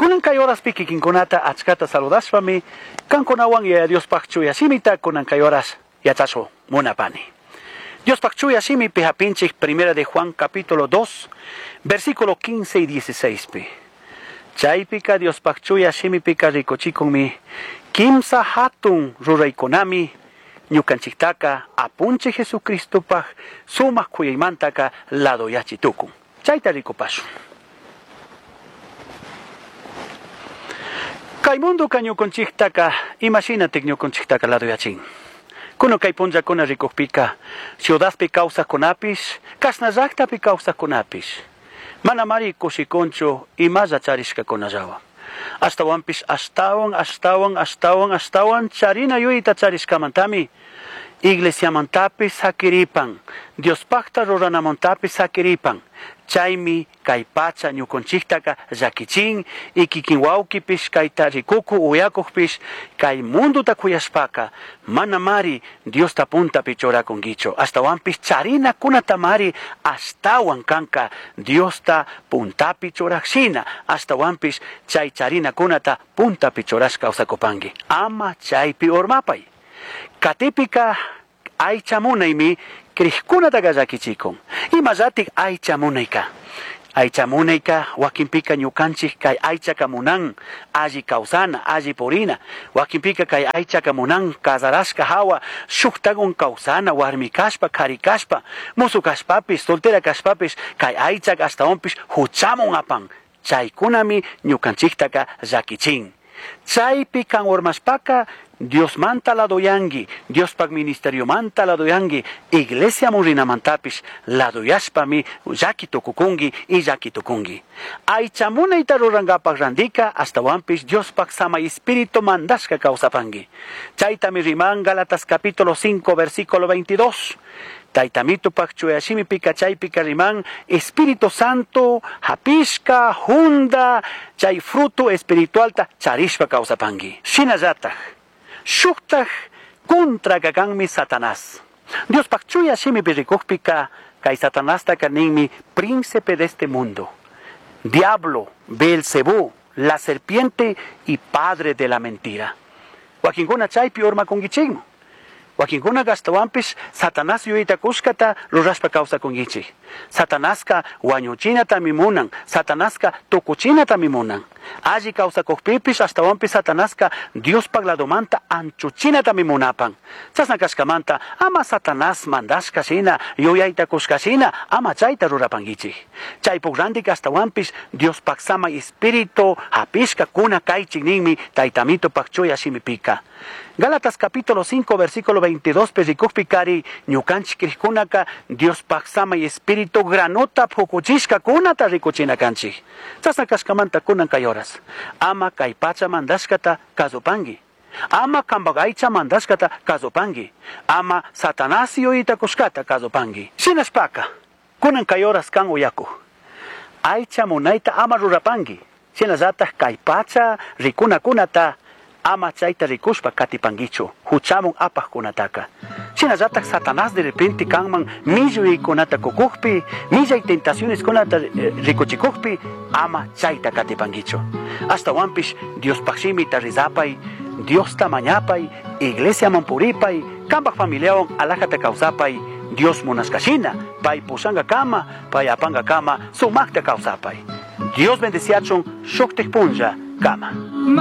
Kunan kay horaspi kikinkunata achkata saludashpami kankunawan Yaya Diospaj chuya shimita kunan kay horas yachashu munapani. Diospaj chuya shimipi hapinchik Primera de Juan capítulo 2, versículo 15 y 16 pi. Chaypika Diospaj chuya shimipika rikuchikunmi kimsa hatun ruraykunami ñukanchiktaka apunchik Jesucristopaj sumaq kuyaymantaka ladoyachi tukun. Chayta rikupashun. Kay mundoka ñukanchiktaka imashinatik ñukanchiktaka ladoyachin. Kunan kay punllakuna rikukpika ciudadpi kawsaqkunapish, kashna llaktapi kawsaqkunapish manamari kushikunchu imalla charishkakunallawan. Ashtawanpish ashtawan, ashtawan, ashtawan, ashtawan charina yuyayta charishkamantami iglesiamantapish sakiripan, Diospajta ruranamantapish sakiripan. Chaymi kay pacha ñukanchiktaka llakichin y kikin wawkipish kayta rikuku uyakukpish kay mundota kuyashpaka manamari Diosta puntapi churakunkichu. Ashtawanpish charinakunatamari ashtawan kanka Diosta puntapi churajshina. Ashtawanpish chay charinakunata puntapi churashka kawsakupanki. Ama chaypi urmapay. Katipika aycha munaymi crijkunataka llakichikun. Imallatik aycha munayka. Aycha munayka wakinpika ñukanchik kay aychaka munan alli kawsana, alli purina. Wakinpika kay aychaka munan casarashka hawa shuktakun kawsana, warmi kashpa, kari kashpa, musu kashpapish, soltera kashpapish, kay aychaka ashtawanpish huchamun apan. Chaykunami ñukanchiktaka llakichin. Chaypi kan urmashpaka Diosmanta ladoyanki, Diospaj ministeriomanta ladoyanki, iglesiaman rinamantapish ladoyashpami llaki tukukunki y llaki tukunki. Aycha munayta rurankapaj randika ashtawanpish Diospaj samay espíritu mandashka kawsapanki. Chaytami riman Gálatas capítulo 5 versículo 22. Taytamitupaj chuya shimipika chaypika riman Espíritu Santo hapishka junda chay fruto espiritualta charishpa kawsapanki. Shinallataj shuktaj contraka kanmi Satanás. Diospaj chuya shimipi rikukpika kay Satanastaka ninmi príncipe de este mundo, diablo, Belcebú, la serpiente y padre de la mentira. Wakinkuna chaypi urmakunkichikmi. Wakinkuna ashtawanpish Satanás yuyayta kushkata rurashpa kawsakunkichik. Satanaska wañuchinatami munan, Satanaska tukuchinatami munan. Alli kawsakukpipish ashtawanpish Satanaska Diospaj ladomanta anchuchinatami munapan. Chashna kashkamanta ama Satanás mandashka shina, yuyayta kushka shina, ama chayta rurapankichik. Chaypuk rantika ashtawanpish Diospaj samay espíritu hapishka kuna kaychik ninmi Taytamitupaj chuya shimipika. Gálatas capítulo 5 versículo 22 pi rikukpikari ñukanchik krikkunaka Diospaj samay espíritu granota pukuchishka kunata rikuchina kanchik. Chashna kashkamanta kunan kay horas. Ama kay pacha mandashkata kasupanki. Ama kanpak aycha mandashkata kasupanki. Ama Satanás yuyayta kushkata kasupanki. Shinashpaka kunan kay horas kan uyakuj. Aycha munayta ama rurapanki. Shinallataj kay pacha rikunakunata ama chayta rikushpa katipankichu huchamun apajkunataka. Shinallataj Satanás de repente kanman millaykunata kukukpi, millay tentacioneskunata rikuchikukpi, ama chayta katipankichu. Ashtawanpish Diospaj shimita rizapay, Diosta mañapay, iglesiaman puripay, kanpaj familiawan alajata kawsapay, Dios munashkashina, pay pushankakama, pay apankakama, sumakta kawsapay. Dios bendeciachun shuktik punlla kama.